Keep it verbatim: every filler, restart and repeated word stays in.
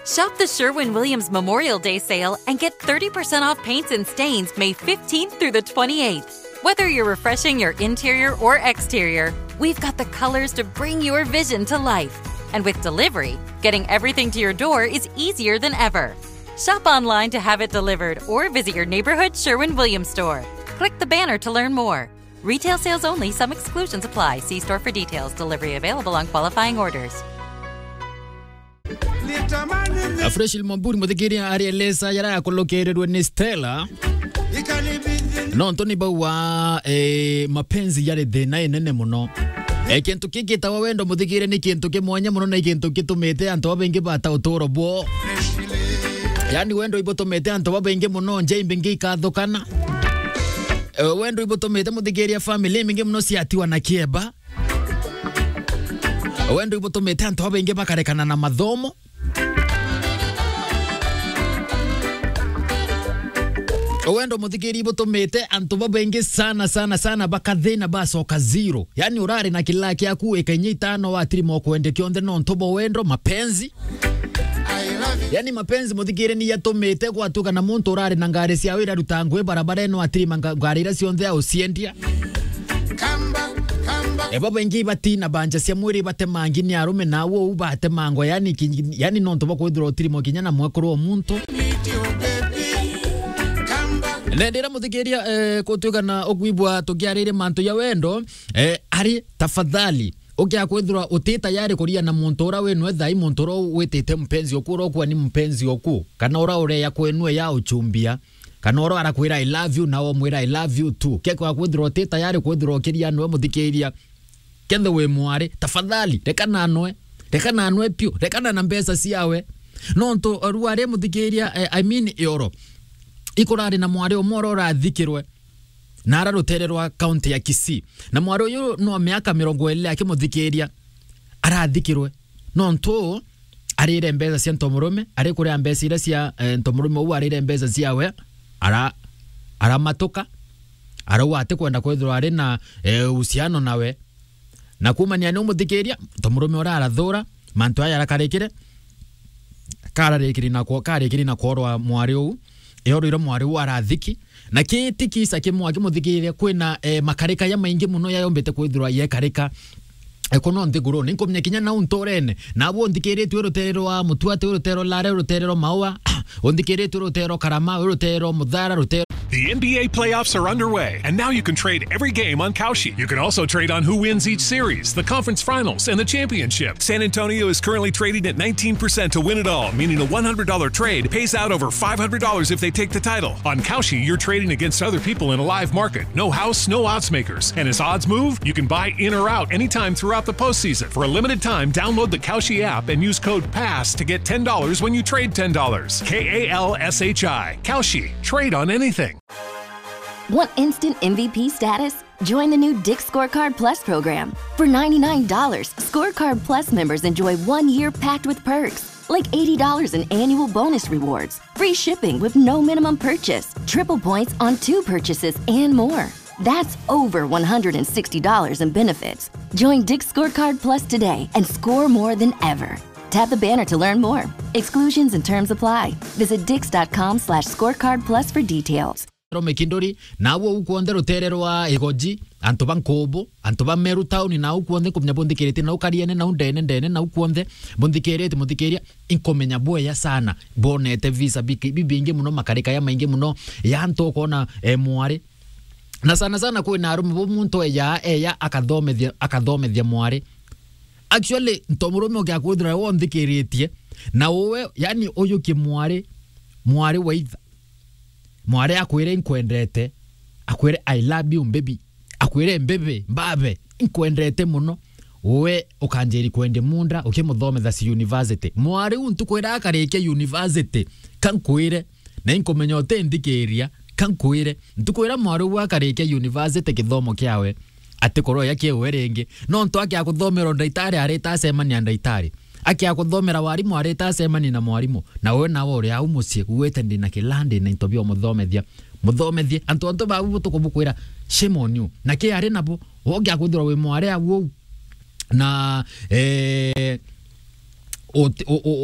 Shop the Sherwin Williams Memorial Day sale and get thirty percent off paints and stains May fifteenth through the twenty-eighth. Whether you're refreshing your interior or exterior, we've got the colors to bring your vision to life. And with delivery, getting everything to your door is easier than ever. Shop online to have it delivered or visit your neighborhood Sherwin Williams store. Click the banner to learn more. Retail sales only, some exclusions apply. See store for details. Delivery available on qualifying orders. Afresh Mwamburi, muthikiria ari Elesa, yara akolokerirwe ni Stella. Nontu ni bauga, eh, mapenzi yari thina inene muno. Eh, kintu kigitawa wendo, muthikiria, ni kintu ki mwanya muno na kintu gitumite antu babaingi bata uturo bwo. Yani, wendo ibutumite antu babaingi muno, nja imbingi ikathukana. Eh, wendo ibutumite, muthikiria, family imbingi muno ciatiwa na kieba. Wendo ibutumite antu babaingi bakarekana na mathomo. Wendo, muthikiria, ibutumite antu babaingi sana, sana, sana bakathina, bacoka zero. Yani, urari na kilaa kiaku ika inya itano, watirima ukwende kionthe nontu bwa wendo, mapenzi. Yani, mapenzi, muthikiria, ni yatumite gwatuka na muntu urari na ngari ciawe iraruta ngui barabarene, watirima nga-, ngari iria cionthe auciendia. Eba baingi batina banja cia mwiri batemangi ni arume, na uu batemangwa, yani ki-, yani nontu bwa kwithirwa utirimwa kinya na mwekuru wa muntu. Na ndira muthikiria, eh, kutuika na ukwibwa tukiariria mantu ya wendo, eh, ari tafadhali, ukia kwithirwa uti tayari kuria na muntu ura winwe thai, muntu ura witite mpenzi oku, ura ukua ni mpenzi oku, kana ura ureya kwenwe ya uchumbia, kana ura arakwira "I love you", na umwira "I love you too". Kekwa kwithirwa uti tayari kwithirwa ukiria nwe muthikiria, kethirwa wi mwari, tafadhali, rekana nwe, rekana nwe piu, rekana na mbeca ciawe. Nontu rua ri muthikiria, eh, I mean, ioro. Ikurari na mwari umwe ura urathikirwe na ara rutere rwa kaunti ya Kisii. Na mwari uyu no miaka mirongo iri akimuthikiria arathikirwe. Nontu arire mbeca cia ntomurume, ari kuria mbeca iria cia, eh, ntomurume uu arire mbeca ciawe, ara-, aramatuka, arauga atikwenda kwithirwa ari na, eh, uhusiano nawe. Na kuumania ni umuthikiria, ntomurume uria arathura, mantu aya arakarikire, kararikiri na kwo-, karikiri na kworwa mwari uu, eorwire mwari uu arathiki, na kiti kisa kimwe akimuthikiria kwina, eh, makarika ya maingi muno yayombite kwithirwa yekarika. Eh, kuno nthiguruni, nkumenya kinya nau nturene, nabu unthikiritue rutere rwa Mutuati, rutere rwa Lare, rutere rwa Maua, unthikiritue rutere rwa Karama, rutere rwa Muthara, rutere. The N B A playoffs are underway, and now you can trade every game on Kalshi. You can also trade on who wins each series, the conference finals, and the championship. San Antonio is currently trading at nineteen percent to win it all, meaning a one hundred dollar trade pays out over five hundred dollars if they take the title. On Kalshi, you're trading against other people in a live market. No house, no odds makers. And as odds move, you can buy in or out anytime throughout the postseason. For a limited time, download the Kalshi app and use code pass to get ten dollars when you trade ten dollars. K A L S H I. Kalshi. Trade on anything. Want instant M V P status? Join the new Dick's Scorecard Plus program. For ninety-nine dollars, Scorecard Plus members enjoy one year packed with perks, like eighty dollars in annual bonus rewards, free shipping with no minimum purchase, triple points on two purchases, and more. That's over one hundred sixty dollars in benefits. Join Dick's Scorecard Plus today and score more than ever. Tap the banner to learn more. Exclusions and terms apply. Visit dicks dot com slash scorecard plus for details. Rome Kinduri, na au au kwonde rutere rwa Igoji, antu ba Nkubu, antu ba Meru Town, na au kwonde nkumenya bunthikirite, nau Kariene, nau Ndene, Ndene, nau kwonde bunthikirite, muthikiria, inkumenya bwega sana, bonete visa biki-, bibingi muno, makarika ya maingi muno, ya antu ukona, eh, mwari. Na sana sana kwina arume bo muntu eya, eya akathomethia, akathomethia mwari. Actually, nto murume ukia kwithira wonthikiritie, na uwe, yani, uyukie mwari, mwari wa itha. Mwari akwire, "Inkwendete." Akwire, "I love you, baby." Akwire, "Baby, mbabe, inkwendete muno." We ukanjiri kwendia munda, ukimuthometha ci university. Mwari u ntuku iria akarikia university, ka nkwire, na inkumenya utinthikiria, ka nkwire, ntuku iria mwari u akarikia university kithomo kiawe, atikorwo ya kiuwe ringi. Nontu akia kuthomera ndaitari, arita acemania ndaitari. Akia kuthomera warimu, arita acemania na mwarimu. Na we nawe uri au mucii, ugwite, "Ndina kila, ndina into bia umuthomethia." Muthomethie. Antu antu bau butuku bukwira, "Shame on you." Na ki ari nabo, wogia kwithirwa wi mwari au uu. Na, eh, uti-, u-, u-,